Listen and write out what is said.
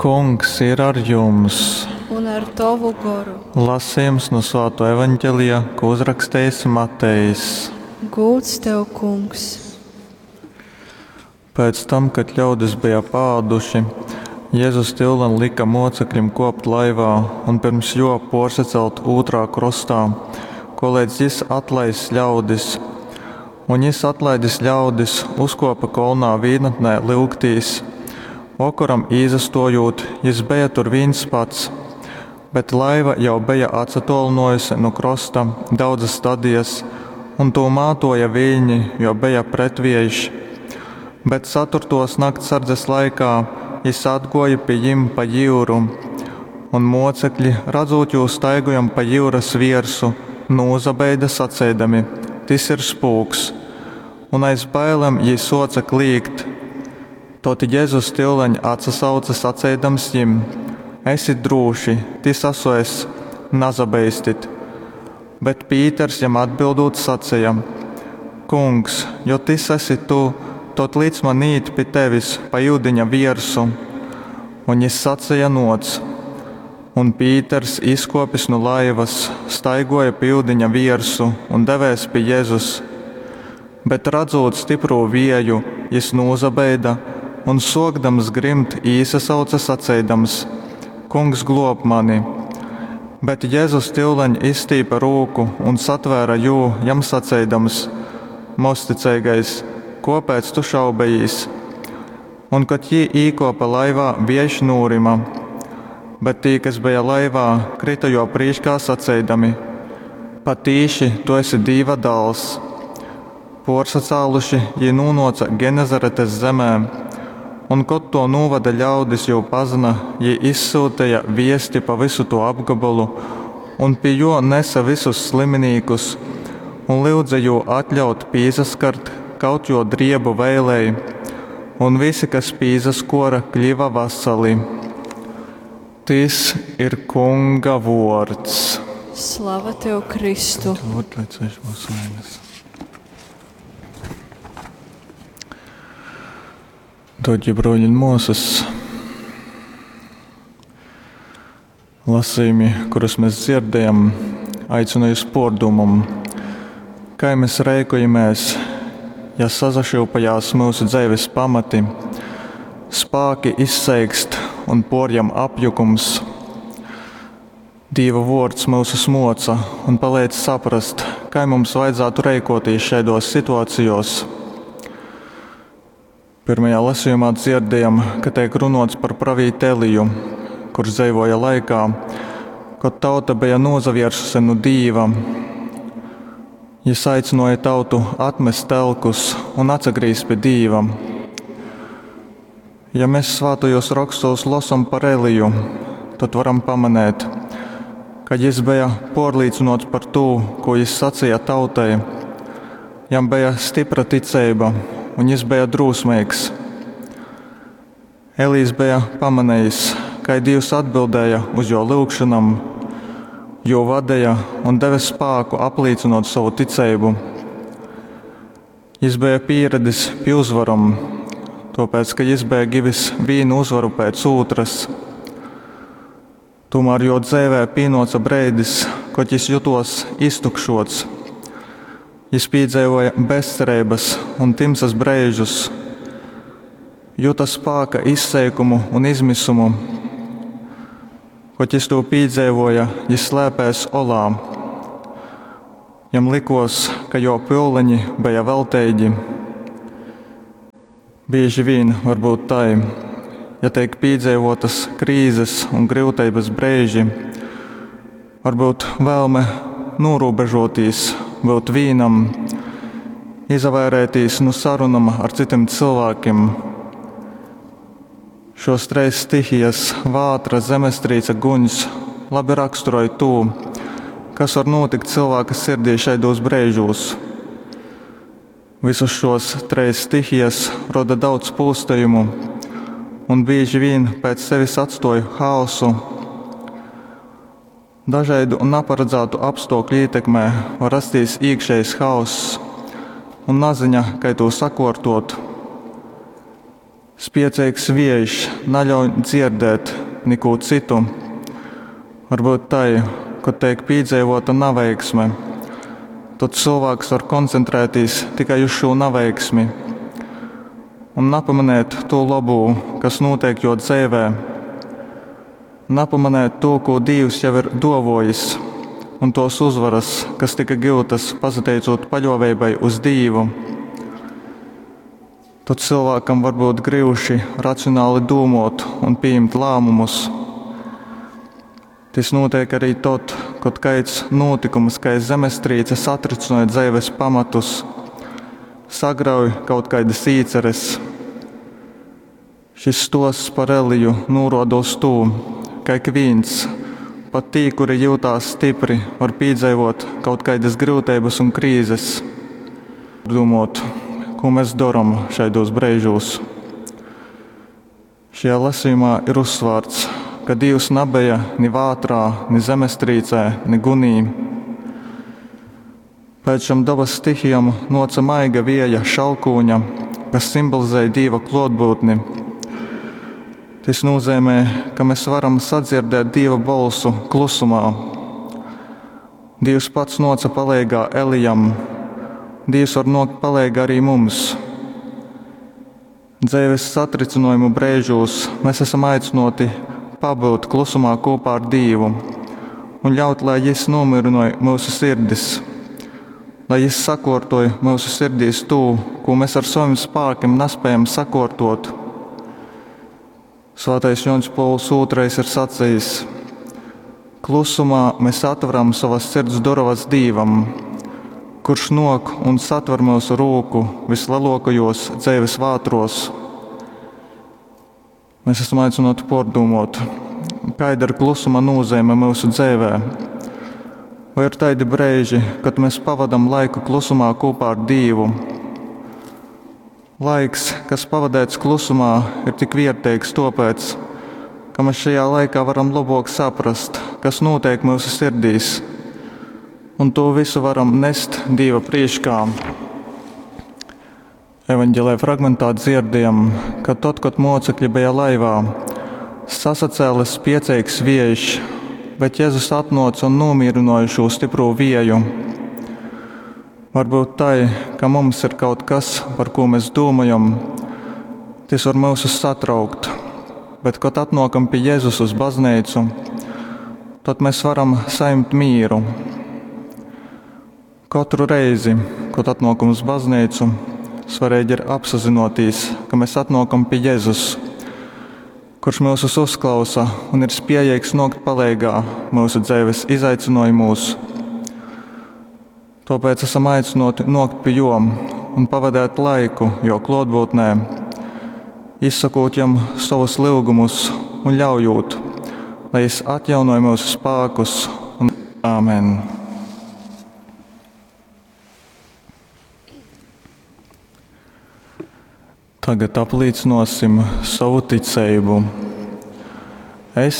Kungs ir ar jums! Un ar tovu goru. Lasījums no Svāto evaņģelija, ko uzrakstījis Matejs. Gūds tev, kungs! Pēc tam, kad ļaudis bija pāduši, Jēzus tyulen lika mocekļim kopt laivā un pirms jo porsacelt ūtrā krostā, koleidz jis atlaiss ļaudis. Un jis atlaidis ļaudis, uzkopa kolnā vīnatnē lyugtīs. Vokoram īsastojūt, jis beja tur vīns pats, bet laiva jau beja atsatolinojusi nu krosta daudzas stadijas, un tū mātoja viļņi, jo beja pretviejš. Bet ceturtos naktsardzes laikā jis atgoja pie jim pa jūru, un mocekļi, redzot jū staigojam pa jūras viersu, nūzabeida saceidami: Tis ir spūks! Un aiz bailēm jī soca klīgt. Tot Jēzus tyuleņ atsasauca saceidams jim: Esit drūši, tis asu es, nazabeistit. Bet Pīters jam atbildūt saceja: Kungs, jo tis esi tu, tot lic man īt pi tevis pa iudiņa viersu. Un jis saceja: Noc. Un Pīters, izkopis nu laivas, staigoja pa iudiņa viersu un devēs pi Jēzus. Bet redzot stiprū vieju, jis nūzabeida un sokdams grimt īsasauca saceidams: Kungs, glob mani! Bet Jēzus tyuleņ izstīpa rūku un satvēra jū, jam saceidams: Mozticeigais, kopēc tu šaubejīs? Un, kad jī īkopa laivā, viejš nūrima. Bet tī, kas beja laivā, krita jo prīškā saceidami: Patīši, tu esi Dīva dāls! Porsacāluši, jī nūnoca Genezaretes zemē, un, kod to nūvada ļaudis jū pazina, jī izsūtīja viesti pa visu to apgabalu, un pie jo nesa visus sliminīkus, un lyudza jū atļaut pīsaskart kaut jo driebu vēlei, un visi, kas pīsaskora, kļiva vasali. Tis ir Kunga vords. Slava tev, Kristu! Dārgie broļi un māsas, lasījumi, kurus mēs dzirdējam, aicina uz pārdomam, kā mēs rēkojamies, ja sazašilpajās mūsu dzīves pamati, spāki izseikst un porjam apjukums. Dīva vārds mūsu smoca un palīdz saprast, kā mums vajadzētu rēkoties šādos situācijos. Pirmajā lasījumā dzirdējam, ka tiek runots par pravīti Eliju, kurš dzīvoja laikā, kad tauta bija nozaviersusi no Dīva. Jis aicināja tautu atmest telkus un atsagrīzt pie Dīva. Ja mēs svātajos rakstos lasam par Eliju, tad varam pamanīt, ka jis bija porlīdzinots par to, ko jis sacīja tautai. Jam bija stipra ticība, un jis bija drūsmīgs. Elīs bija pamanījis, kā Dievs atbildēja uz jo lūgšanām, jo vadīja un deva spēku apliecinot savu ticību. Jis bija pieradis pie uzvaram, tāpēc, ka jis bija givis vienu uzvaru pēc otras. Tomēr jo dzīvē pienāca brīdis, kad jis jutos iztukšots. Jis piedzīvoja bezcerības un timsas brīžus, juta spēka izseikumu un izmisumu. Kad jis to piedzīvoja, jis slēpēs olā. Jam likos, ka jo pūliņi bija velteigi. Bieži vien varbūt tai, ja tiek piedzīvotas krīzes un grūtības brīži, varbūt vēlme norūbežoties, būt vīnam, izvairēties no sarunam ar citiem cilvēkiem. Šos treis stihijas - vātra, zemestrīce, guņs - labi raksturoja to, kas var notikt cilvēka sirdī šaidos brīžos. Visus šos treis stihijas roda daudz pūstījumu un bieži vien pēc sevis atstoja haosu. Dažādu un neparedzētu apstākļu ietekmē var rasties iekšējs haoss un naziņa, kā to sakārtot. Spieceigs viejš naļauj dzierdēt nikū cytu. Varbyut tai, kod teik pīdzeivuota naveiksme, tod cylvāks var koncentrētīs tikai uz šū naveiksmi un napamanēt tū lobū, kas nūteik juo dzeivē. Napamanēt tū, kū Dīvs jau ir duovuojis, un tuos uzvaras, kas tika giutas pasateicūt paļuoveibai uz Dīvu. Tod cylvākam var byut gryuši racionāli dūmuot un pījimt lāmumus. Tys nūteik arī tod, kod kaids nūtykums kai zemestrīce satrycynoj dzeives pamatus, sagrauj kaut kaidas īceres. Šis stuosts par Eliju nūruoda uz tū, ka ikvīns, pat tī, kuri jiutās stypri, var pīdzeivuot kaut kaidys gryuteibys un krīzes. Dūmuot, kū mes dorom šaidūs breižūs. Šajā lasījumā ir uzsvārts, ka Dīvs nabeja ni vātrā, ni zemestrīcē, ni gunī. Pēc šom dabas stihijom nuoca maiga vieja šalkūņa, kas simbolizēja Dīva kluotbyutni. Tys nūzeimē, ka mes varam sadzirdēt Dīva bolsu klusumā. Dīvs pats nuoca paleigā Elijam. Dīvs var nuokt paleigā arī mums. Dzeives satricynojumu breižūs mes esam aicynuoti pabyut klusumā kūpā ar Dīvu un ļaut, lai Jis nūmīrynoj myusu sirdis, lai Jis sakuortoj myusu sirdīs tū, kū mes ar sovim spākim naspējam sakuortuot. Svātais Juoņs Pols II ir sacejis: Klusumā mēs atveram sovas sirds durovas Dīvam, kurš nuok un satver myusu rūku visleluokajuos dzeives vātruos. Mēs esam aicynuoti puordūmuot, kaida ir klusuma nūzeime myusu dzeivē. Vai ir taidi breiži, kad mēs pavadam laiku klusumā kūpā ar Dīvu? Laiks, kas pavadēts klusumā, ir tik vierteigs tuopēc, ka mēs šajā laikā varam lobuok saprast, kas nūteik myusu sirdīs, un tū visu varam nest Dīva prīškā. Evaņģēlija fragmentā dzirdējam, ka tod, kod mocekļi beja laivā, sasacēla spieceigs viejš, bet Jēzus atnāca un nomierināja šo stipro vieju. Varbūt tai, ka mums ir kaut kas, par ko mēs domājam, tas var mūs satraukt, bet, kad atnākam pie Jēzus uz baznīcu, tad mēs varam saņemt mīru. Katru reizi, kad atnākam uz baznīcu, svarīgi ir apzināties, ka mēs atnākam pie Jēzus, kurš mūsus uzklausa un ir spējīgs nokt paleigā mūsu dzīves izaicinājumos. Tāpēc esam aicināti nokt pie jom un pavadīt laiku jo klātbūtnē, izsakot jam savus lūgumus un ļaujot, lai jis atjaunoja mūsu spēkus. Un Āmen! Tagad aplīcinosim savu ticeibu. Es